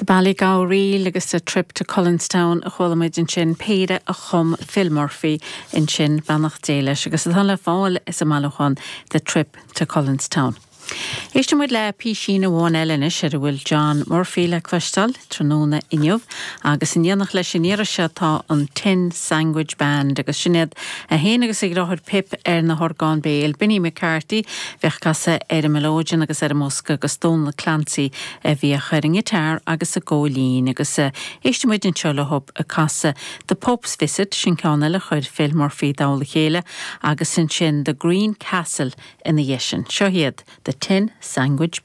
The Ballygow Reel agus The Trip to Cullenstown a chuala muid ansin, péire a chum Phil Murphy ansin, beannacht Dé leis, agus atá le fáil sa mbailiúchán The Trip to Cullenstown. Éistfidh muid le písín amháin eile anois ar a bhfuil John Murphy le cloisteáil tráthnóna inniu agus in éineacht leis an iarraidh seo tá an Tin Sandwich Band agus sin iad é féin agus a dheartháir Pip ar na horgáin béil, Binny McCarthy a bheadh ag casadh ar an mileoidean agus ar an mbosca agus Dónal Clancy a bhíodh ar an ngiotár agus an góilín agus éistfidh muid anseo leo ag casadh The Pope's Visit, sin ceann eile a chuir Phil Murphy i dtoll a chéile, agus ansin The Green Castle ina dhiaidh sin. Seo iad The Tin Sandwich.